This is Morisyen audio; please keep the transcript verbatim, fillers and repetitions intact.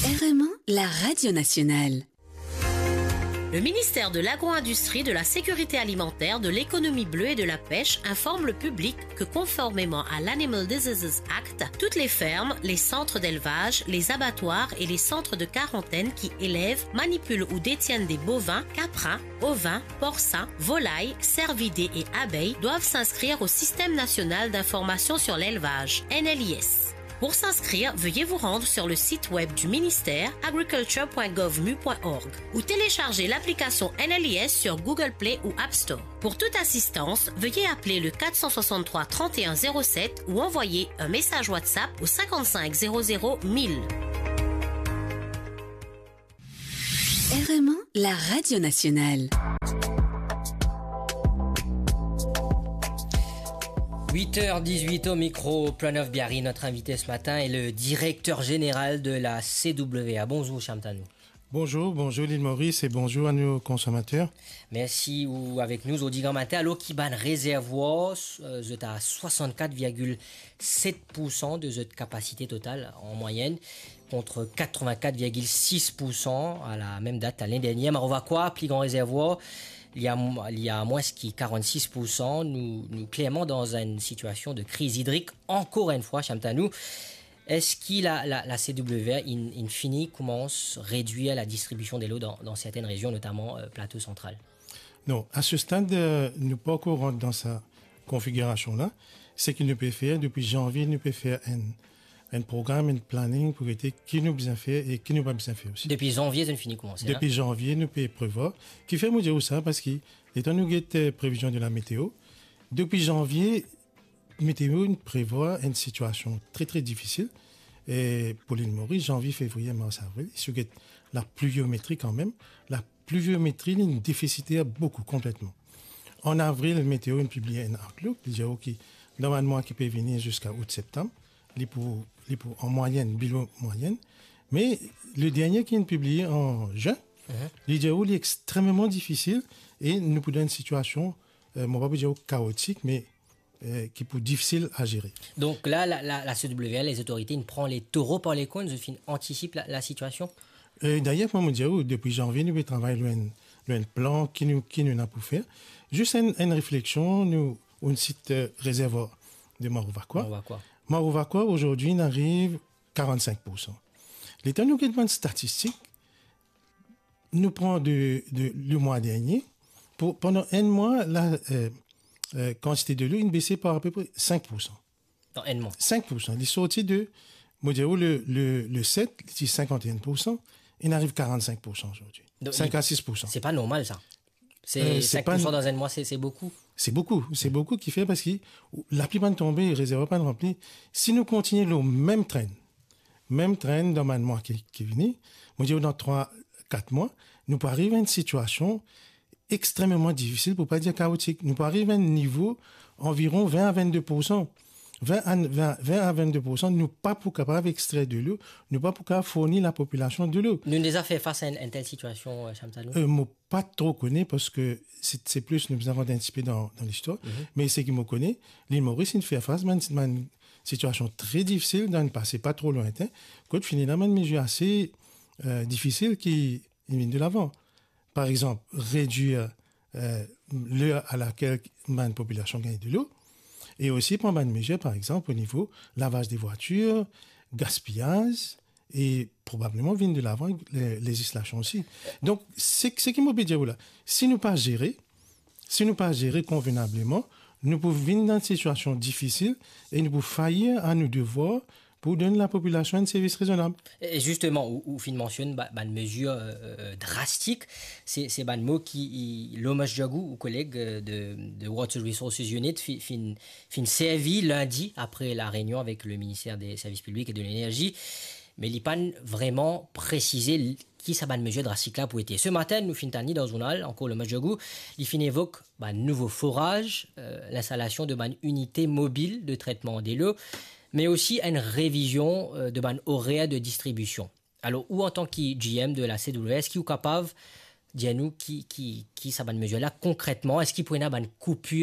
R M un, la radio nationale. Le ministère de l'Agro-industrie, de la Sécurité alimentaire, de l'Économie bleue et de la Pêche informe le public que, conformément à l'Animal Diseases Act, toutes les fermes, les centres d'élevage, les abattoirs et les centres de quarantaine qui élèvent, manipulent ou détiennent des bovins, caprins, ovins, porcins, volailles, cervidés et abeilles doivent s'inscrire au Système national d'information sur l'élevage, N L I S. Pour s'inscrire, veuillez vous rendre sur le site web du ministère, agriculture point gov mu point org, ou télécharger l'application N L I S sur Google Play ou App Store. Pour toute assistance, veuillez appeler le quatre cent soixante-trois trente et un zéro sept ou envoyer un message WhatsApp au cinquante-cinq zéro zéro mille. R M un, la radio nationale. Huit heures dix-huit au micro, Pranov Biari, notre invité ce matin, est le directeur général de la C W A. Bonzour, Shyam Tanou. Bonzour, bonzour Lil Moris e bonzour a nou konsomater. Mersi ou avek nou zordi gramatin. Alor ki bann rezervwar, euh, zot a swasannkat virgil set pour san de zot kapasite total an mwayenn, kont katrevin-kat virgil sis pour san a la mem dat lane dernie. Marova Kwa, pli gran rezervwar, li a, li a mwins ki karannsis pour san. Nou, nou klerman dan enn sitiasion de kriz idrik, ankor enn fwa, Shyam Tanou. Eski la, la, la C W A inn, inn fini koumans redwir la distribision delo dan, dan sertenn rezion, notaman, euh, Plato Santral? Non, a se stad, euh, nou pa ankor rant dan sa konfigirasion la. Seki nou pe fer, depi zanvie, nou pe fer enn, enn program, enn planning pou gete ki nou bizin fer e ki nou pa bizin fer osi. Depi zanvie, zot inn fini koumans, Depi zanvie, nou pe prevwar. Kifer mo dir ou sa, parski letan nou get, euh, previzion de la meteo, depi zanvie, meteo inn prevwar enn sitiasion tre, tre difisil, e pou Lil Moris, zanvie, fevriye, mars, avril, si ou get la pluviometri kanmem, la pluviometri, li inn defisiter boukou, konpletman. An avril, meteo inn pibliye enn outlook, li dir ou ki dan bann mwa ki pe vini ziska out, septam, li pou, li pou an mwayenn, below mwayenn. Me le dernie ki inn pibliye an zin, Mhm. li dir ou li extrememan difisil e nou pou dan enn sitiasion, euh, mo pa pou dir ou kaotik, me euh, ki pou difisil a zere. Donk la, la, la, la C W A, lezotorite, inn pran letoro par lekorn, zot finn antisip la, la sitiasion? Euh, dayer, kouma mo dir ou, depi zanvie, nou pe travay lor enn, lor enn plan ki nou, ki nou ena pou fer. Zis enn, enn refleksion, nou, enn sit, euh, rezervwar de Marova Kwa. Marova Kwa. Marova Kwa, azordi, inn ariv karannsenk pour san. Letan nou get bann statistik, nou pran de, de, le mwa dernie, pou, pandan enn mwa, la, euh, euh, kantite delo inn bese par apepre sink pour san. Dan enn mwa? Sink pour san. Li sorti de, mo dir ou, le, le, le set, li ti sinkant-e-enn pour san, inn ariv karannsenk pour san azordi. Donk, sink a sis pour san. Se pa normal, sa. Se, euh, se sink pour san pa dan enn mwa, se, se boukou. Se boukou, se boukou ki fer parski laplipar tonbe, rezervwar pa ranpli. Si nou kontigne lor mem trenn, mem trenn dan bann mwa ki, ki vini, mo dir ou dan trwa, kat mwa, nou pou ariv a enn sitiasion extrememan difisil, pou pa dir kaotik. Nou pou ariv a enn nivo anviron vin a vennde pour san. Vin a, vin, vin a vennde pour san, nou pa pou kapav extrer delo, nou pa pou kapav fourni lapopilasion delo. Nou deza fer fas a enn, enn tel sitiasion, euh, Shyam Tanou? Euh, mo pa tro kone, parski se, se plis nou bizin rant enn tipe dan, dan listwar. Mhm. Me seki mo kone, Lil Moris inn fer fas bann, bann sitiasion tre difisil dan pase pa tro lwintin, kot finn ena bann mezir ase, euh, difisil ki inn vinn de lavan. Par exanp, redwir, euh, ler a lakel bann popilasion gagn delo, e osi pran bann mezir, par exanp, o nivo lavaz de vwatir, gaspiyaz, e probableman vinn de lavan le, lezislasion osi. Donk, se, seki mo pe dir ou la, si nou pa zere, si nou pa zere konvenableman, nou pou vinn dan enn sitiasion difisil e nou pou fayir a nou devwar pou donn lapopilasion enn servis rezonab. E zisteman, ou, ou finn mansionn ba-, bann mezir, euh, euh, drastik, se, se bann mo ki, i, Lomash Jagoo, ou koleg, euh, de, de Water Resources Unit, fi-, finn, finn servi lindi apre la reynion avek le Ministère des Services Publics et de l'Énergie, me li pa'nn vreman presize l-, ki sa bann mezir drastik la pou ete. Se matin, nou finn tann li dan zournal, ankor Lomash Jagoo, li finn evok bann nouvo foraz, euh, linstalasion de bann inite mobil de tretman delo, me osi enn revizion, euh, de bann orer de distribision. Alor, ou antan ki G M de la C W A, eski ou kapav dir nou ki, ki, ki sa bann mezir la konkretman, eski pou ena bann koupir